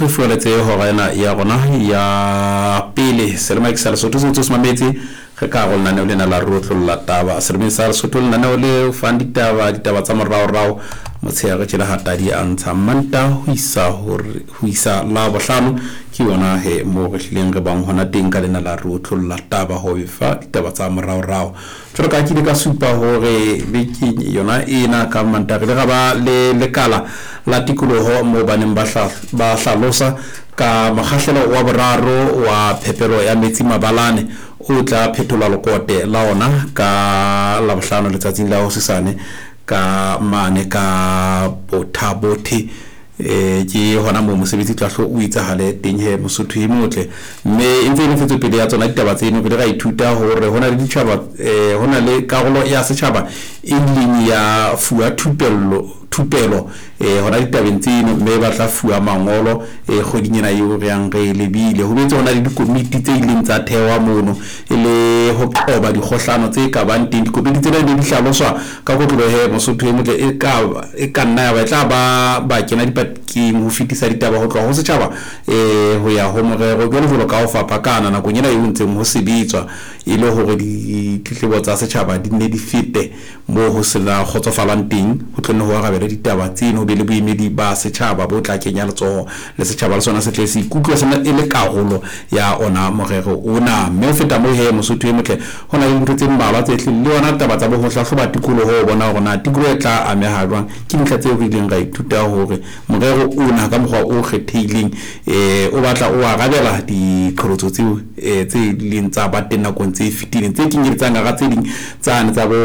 Re fueletse hora ena ya rona ya pele selema ke sa Lesotho se ntse se mametse re ka go lenaneo lena la rotlolla taba selemeng sa Lesotho lenaneo le fang ditaba ditaba tsa moraorao motshehare tjela ha tadi a ntsha manta ho isa hore ho isa la bohlano ke yona he mo re hlileng re bang hona teng ka lena la rotlolla taba ho fa ditaba tsa moraorao Jwalo ka ha ke ile ka supa hore bekeng yona ena ka Mantaha re ile ra ba le lekala la tikoloho moo ba neng ba ba hlalosa ka mokgahlelo wa boraro wa phepelo ya metsi mabalane o tla phetholwa lekote la ona ka Labohlano letsatsing la hosesane ka mane ka Botha-Bothe. E, ke hona moo mosebetsi tla hlo o itsahale teng he Mosotho e motle. Mme e ntse e le ntshetsopele ya tsona ditaba tseno, re ile ra ithuta hore ho na le ditjhaba, e, ho na le karolo ya setjhaba e ileng ya fuwa thupello, thupelo, e, hona ditabeng tseno, mme ba tla fuwa mangolo, e, kgweding ena eo re yang re e lebile. Ho boetse ho na le dikomiti tse ileng tsa thehwa mono e le ho qoba dikgohlano tse ka bang teng. Dikomiti tsena di ne di hlaloswa Ka kotloloho he, Mosotho e motle e ka e ka nna ya ba e tla ba ba kena dipakeng ho fetisa ditaba ho tloha ho setjhaba e ho ya ho morero jwalo jwalo ka ho fapakana nakong ena eo ntseng ho sebetswa e le hore ditletlebo tsa setjhaba di nne di fete moo ho se na kgotsofalang teng ho tlo nne ho arabelwe ditaba tseno ho be le boemedi ba setjhaba bo tla kenya letsoho le setjhaba le sona se tle se ikutlwe se e le karolo ya ona morero ona. Mme ho feta moo he, Mosotho e motle, ho na le dintho tse mmalwa tse hlileng le yona taba tsa bo ho hlahloba tikoloho ho bona hore na tikoloho e tla ameha jwang. Ke dintlha tseo re ileng ra ithuta hore morero ona ka mokgwa o kgethehileng o batla o arabela diqholotso tseo tse ileng tsa ba teng nakong tse fetileng, tse kenyeletsang hara tse ding tsane tsa bo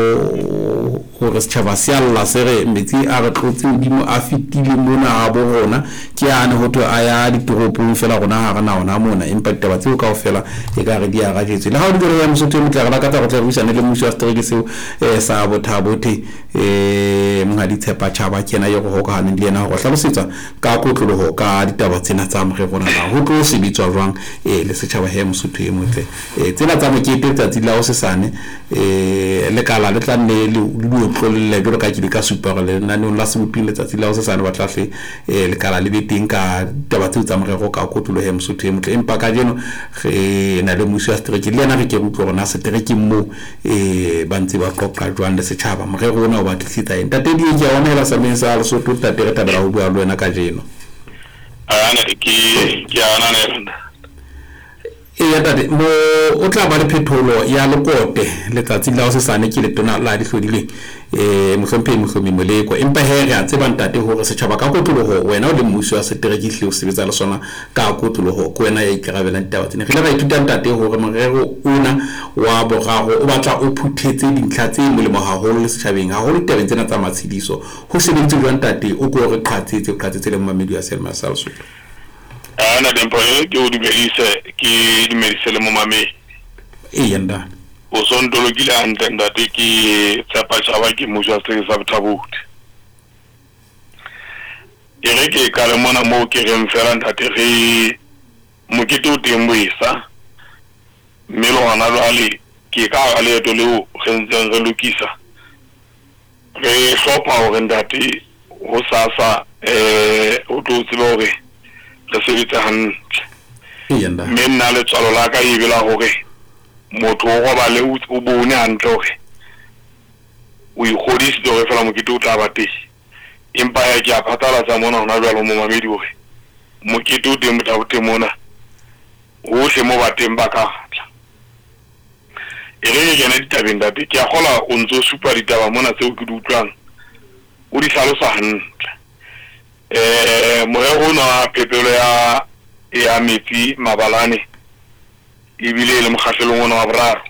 hore setjhaba se a lla se re metsi a re tlotse hodimo a fetile mona habo rona, ke ane ho thwe a ya ditoropong feela rona ha re na ona mona. Empa ditaba tseo kaofela ekare di arajetswe. Le ha ho le jwalo, ya Mosotho e motle, re lakatsa hore tle re buisane le mmusi wa setereke seo sa Botha-Bothe, Monghadi Tshepa Chaba, ke yena eo re hokahaneng le yena hore hlalosetsa ka kotloloho ka ditaba tsena tsa morero ona na ho tlo sebetswa jwang le setjhaba he Mosotho e motle. Tsena tsa mokete letsatsi la hosesane lekala le tla nne le di otlolle jwalo ka ke ile ka supa hore lenaneong la seboping letsatsi la hosesane ba tla hle lekala le be teng ka ditaba tseo tsa morero ka kotloloho he Mosotho e motle. Empa kajeno re na le mmusi wa setereke le yena re ke re utlwe hore na seterekeng moo ba ntse ba qoqa jwang le setjhaba morero ona o ba tlisetsa eng. Ntate Dieng, ke a o amohela selemeng sa Lesotho. Ntate, re thabela ho bua le wena kajeno. Ke a ananela. Eya ntate, mo o tla ba le phetholo ya lekote letsatsing la hosesane ke letona la dihlodileng Mohlomphehi Mohlomi Moleko. Empa he re a tseba ntate hore setjhaba ka kotloloho wena o le mmusi wa setereke ehlile o sebetsa le sona ka kotloloho, ke wena ya ikarabelang ditaba tsena. Re ile ra ithuta ntate hore morero ona wa boraro o batla o phuthetse dintlha tse molemo haholo le setjhabeng, haholo ditabeng tsena tsa matshediso. Ho sebeditswe jwang ntate? O ko re qhatsetse, o qhatsetse le momamedi wa Selma sa Lesotho. Ana Dimpho, e ke o dumedise, ke dumedise le momamedi. Eya ntate. O so ntolokile hantle ntate, ke Tshepa Chaba, ke mmusi wa setereke sa Botha-Bothe. E re ke qale mona moo ke reng fela ntate re mokete o teng boesa, mme le hona jwale ke ka hara leeto leo re ntseng re lokisa re hlopha hore ntate hosasa o tlo tsebe hore re sebetse hantle. Eya ntate. Mme nna letswalo la ka e be la hore motho o robale o bone hantle hore o ikgodisitse hore fela mokete o tla ba teng. Empa hee ke a phatlalatsa mona hona jwale ho momamedi hore mokete o teng Botha-Bothe mona, hohle moo ba teng ba ka tla. E re ke kene ditabeng ntate, ke a kgolwa o ntso supa ditaba mona tseo ke di utlwang o di hlalosa hantle. Morero ona wa phepelo ya ya metsi mabalane ebile e le mokgahlelong ona wa boraro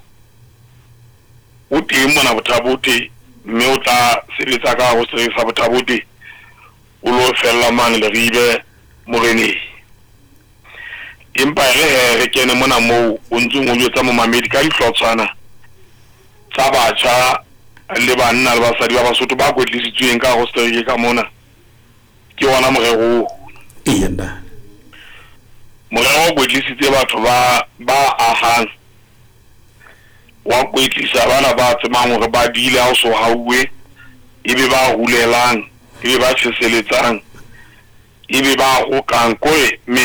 o teng mona Botha-Bothe, mme o tla sebetsa ka hare ho setereke sa Botha-Bothe o lo fella mane Leribe moreneng. Empa e re he re kene mona moo o ntsong o jwetsa momamedi ka dihlotshwana tsa batjha le banna le basadi ba Basotho ba kwetlisitsweng ka hare ho setereke ka mona. Ke ona morero oo. Eya ntate. Morero o kwetlisitse batho ba ba ahang, wa kwetlisa bana ba tsebang hore ba dile ha o so hauwe, ebe ba rulelang, ebe ba tjheseletsang. E be ba gokang, kore.